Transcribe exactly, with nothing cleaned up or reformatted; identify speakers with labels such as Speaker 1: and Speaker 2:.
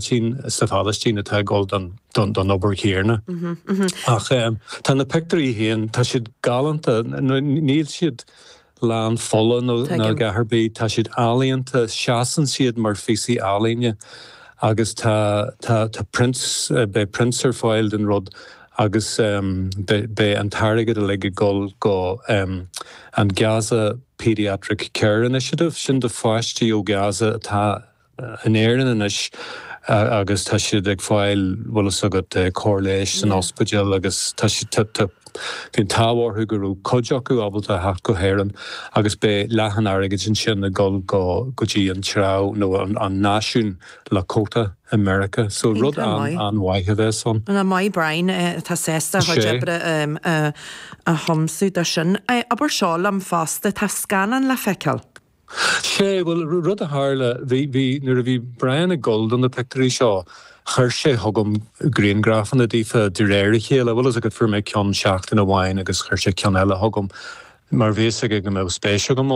Speaker 1: sa Phalaistín atá ag dul don don don obair chéanna. Ach um, tá na pictiúirí féin tá siad galánta níl siad lán fola nó a dhath ar bith tá siad ealaíonta seasann siad mar phíosaí ealaíne agus tá tá tá prints beidh prints ar fáil den rud agus um, beidh an t-airgead uilig ag dul go um, an Gaza Pediatric Care Initiative sin do pháistí ó Gaza atá in Éirinn anois agus tá siad ag fáil bhfuil agat cóir leighis san ospidéal agus tá siad Bhí an t-ádh orthu go raibh cuid acu ábalta theacht go hÉirinn agus beidh leath an airgid sin ag dul go go dtí an treabh nó an, an náisiún Lakota i America, so rud an an-mhaith a bheas ann.
Speaker 2: An maith Brian tá sásta chuid oibre a thiomsú do sin. Abair seo liom fosta tá scannán le feiceáil.
Speaker 1: Sé well rud a tharla bhí bhí nuair a bhí Brian ag dul do na pictiúirí seo chuir sé chugam grianghrafanna díofa de réir a chéile, bhfuil agat fuair mé ceann seachtain amháin agus chuir sé ceann eile chugam mar bhí a fhios aige go mbeadh spéis agam